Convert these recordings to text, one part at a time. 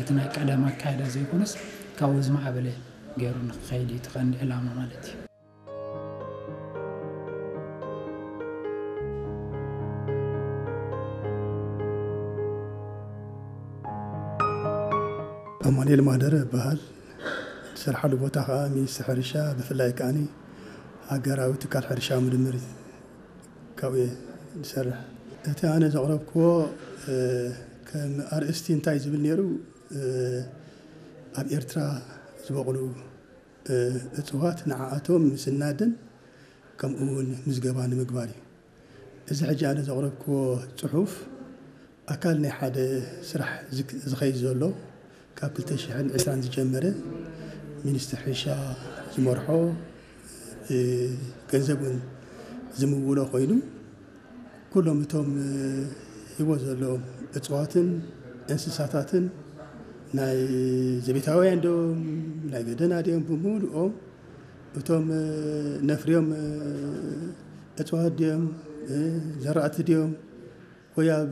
እቲ ናይ ቀደም ኣካይዳ ዘይኮነስ ካብኡ ዝማዕበለ ገይሩ ንክኸይድ እዩ እቲ ቀንዲ ዕላማ ማለት እዩ። ኣማኑኤል ማህደረ እበሃል። ዝሰርሓሉ ቦታ ከዓ ሚኒስትሪ ሕርሻ፣ ብፍላይ ከዓኒ ሃገራዊ ትካል ሕርሻ ምርምር ካብኡ እየ ዝሰርሕ። እቲ ኣነ ዘቕረብክዎ ከም ኣርእስቲ እንታይ ዝብል ነይሩ፣ ኣብ ኤርትራ ዝበቕሉ እፅዋት ንዓኣቶም ምስናድን ከምኡ እውን ምዝገባ ንምግባር እዩ። እዚ ሕጂ ኣነ ዘቕረብክዎ ፅሑፍ ኣካል ናይ ሓደ ስራሕ ዝክ- ዝኸይድ ዘሎ ካብ ክልተ ሽሕን ዕስራን ዝጀመረ ሚኒስትሪ ሕርሻ ዝመርሖ ገንዘብ እውን ዝምውሎ ኮይኑ ኩሎም እቶም ህይወት ዘለዎም እፅዋትን እንስሳታትን ናይ ዘቤታውያን ድዮም ናይ ገደና ድዮም ብምሉኦም እቶም ነፍርዮም እፅዋት ድዮም ዘራእቲ ድዮም ወይ ኣብ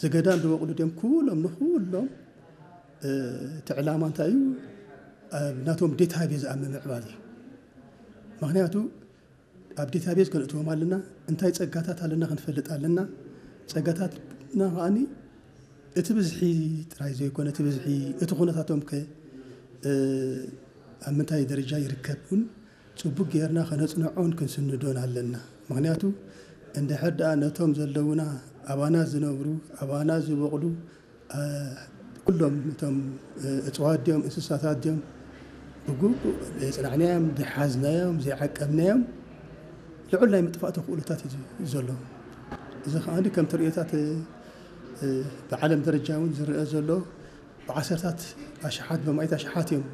ዘገዳም ዝበቕሉ ድዮም ኩሎም ንኩሎም እቲ ዕላማ እንታይ እዩ? ኣብ ናቶም ዴታቤዝ ኣብ ምምዕባል እዩ። ምክንያቱ ኣብ ዴታቤዝ ከነእትዎም ኣለና፣ እንታይ ፀጋታት ኣለና ክንፈልጥ ኣለና። ፀጋታትና ከዓኒ እቲ ብዝሒ ጥራይ ዘይኮነ እቲ ብዝሒ እቲ ኩነታቶም ከ ኣብ ምንታይ ደረጃ ይርከብ እውን ፅቡቅ ጌርና ከነፅንዖን ክንስንዶን ኣለና። ምክንያቱ እንድሕር ደኣ ነቶም ዘለውና ኣባና ዝነብሩ ኣባና ዝበቕሉ ኩሎም እቶም እፅዋት ድዮም እንስሳታት ድዮም ብግቡእ ዘይፅናዕናዮም ዘይሓዝናዮም ዘይዓቀብናዮም ልዑል ናይ ምጥፋእ ተኽእሎታት እዩ ዘሎ። እዚ ከዓ ከም ተርእዮታት ብዓለም ደረጃ እውን ዝረአ ዘሎ ብዓሰርታት ኣሽሓት ብማእት ኣሽሓት እዮም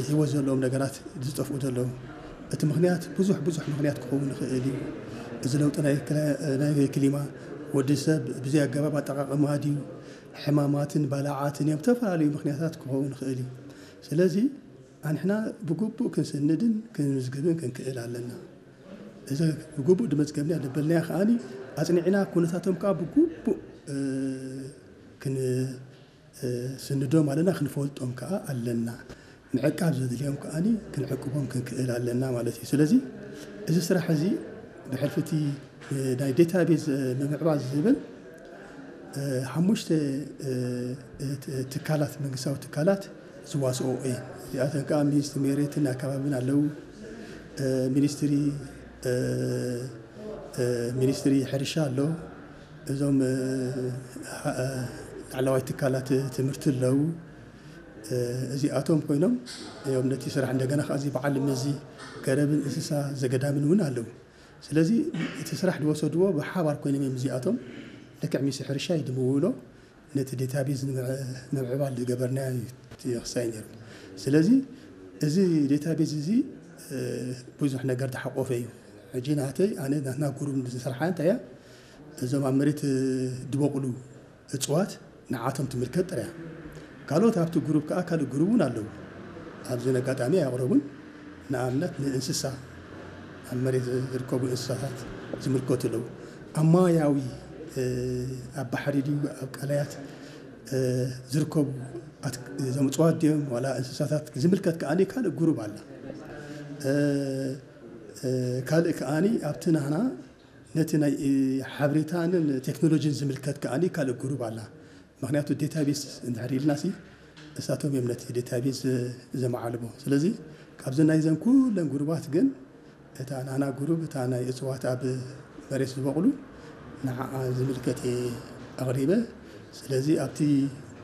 ህይወት ዘለዎም ነገራት ዝጠፍኡ ዘለዉ። እቲ ምክንያት ብዙሕ ብዙሕ ምክንያት ክኸውን ይኽእል እዩ። እዚ ለውጢ ናይ ክሊማ ወዲ ሰብ ብዘይ ኣገባብ ኣጠቃቅማ ድዩ ሕማማትን ባላዓትን እዮም ዝተፈላለዩ ምክንያታት ክኸውን ይኽእል እዩ። ስለዚ ኣንሕና ብግቡእ ክንስንድን ክንምዝግብን ክንክእል ኣለና። እዚ ብግቡእ ድመዝገብና ደበልናያ ከዓኒ ኣፅኒዕና ኩነታቶም ከዓ ብግቡእ ክንስንዶም ኣለና ክንፈልጦም ከዓ ኣለና። ምዕቃብ ዘድልዮም ከዓኒ ክንዕቅቦም ክንክእል ኣለና ማለት እዩ። ስለዚ እዚ ስራሕ እዚ ብሕልፊ እቲ ናይ ዴታቤዝ ምምዕባል ዝብል ሓሙሽተ ትካላት መንግስታዊ ትካላት ዝዋስኦ እየን። እዚኣተን ከዓ ሚኒስትሪ ሜሬትን ኣከባብን ኣለዉ። ሚኒስትሪ ሚኒስትሪ ሕርሻ ኣሎ። እዞም ላዕለዋይ ትካላት ትምህርቲ ኣለዉ። እዚኣቶም ኮይኖም እዮም ነቲ ስራሕ እንደገና ከዓ እዚ በዓል መዚ ገረብን እንስሳ ዘገዳምን እውን ኣለዉ። ስለዚ እቲ ስራሕ ዝወሰድዎ ብሓባር ኮይኖም እዮም እዚኣቶም ልክዕ ሚኒስትሪ ሕርሻ እዩ ድምውሎ ነቲ ዴታቤዝ ንምዕባል ዝገበርናዮ እዩ ክሳይ ነይሩ። ስለዚ እዚ ዴታቤዝ እዚ ብዙሕ ነገር ዝሓቆፈ እዩ። ሕጂ ናተይ ኣነ ናትና ጉሩብ ዝሰርሓ እንታይ እያ እዞም ኣብ መሬት ዝበቕሉ እፅዋት ንዓቶም ትምልከት ጥራያ። ካልኦት ኣብቲ ጉሩብ ከዓ ካልእ ጉሩብ እውን ኣለዉ። ኣብዚ ኣጋጣሚ ኣየቕረቡን። ንኣብነት ንእንስሳ ኣብ መሬት ዝርከቡ እንስሳታት ዝምልከቱ ኣለዉ። ኣብ ማያዊ ኣብ ባሕሪ ድዩ ኣብ ቀላያት ዝርከቡ እዞም እፅዋት ድዮም ዋላ እንስሳታት ዝምልከት ከዓ ካልእ ጉሩብ ኣላ። ካልእ ከዓ ኣብቲ ናህና ነቲ ናይ ሓበሬታንን ቴክኖሎጂን ዝምልከት ከዓ ካልእ ጉሩብ ኣላ። ምክንያቱ ዴታቤስ እንድሕር ኢልና ሲ እሳቶም እዮም ነቲ ዴታቤስ ዘመዓልቦ። ስለዚ ካብዚ ናይዘን ኩለን ጉሩባት ግን እታ ናና ጉሩብ እታ ናይ እፅዋት ኣብ መሬት ዝበቕሉ ንዓኣ ዝምልከት እየ ኣቕሪበ። ስለዚ ኣብቲ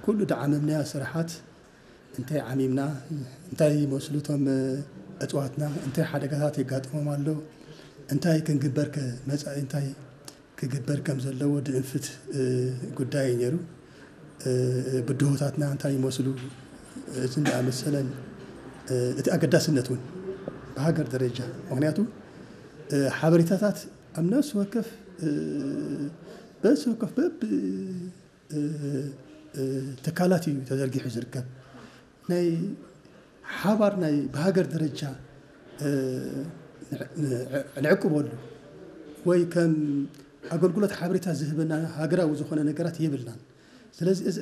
ኩሉ ድዓመምናዮ ስራሓት እንታይ ዓሚምና፣ እንታይ ይመስሉ እቶም እፅዋትና፣ እንታይ ሓደጋታት የጋጥሞም ኣሎ፣ እንታይ ክንግበር ከ መፃኢ እንታይ ክግበር ከም ዘለዎ ድእንፍት ጉዳይ እዩ ነይሩ። ብድሆታትና እንታይ ይመስሉ፣ እዝን ዝኣመሰለን እቲ ኣገዳስነት እውን ብሃገር ደረጃ ምክንያቱ ሓበሬታታት ኣብ ነፍሲ ወከፍ በዚ ወከፍ በብ ትካላት እዩ ተዘርጊሑ ዝርከብ ናይ ሓባር ናይ ብሃገር ደረጃ ንዕቅበሉ ወይ ከም ኣገልግሎት ሓበሬታ ዝህበና ሃገራዊ ዝኾነ ነገራት የብልናን። ስለዚ እዚ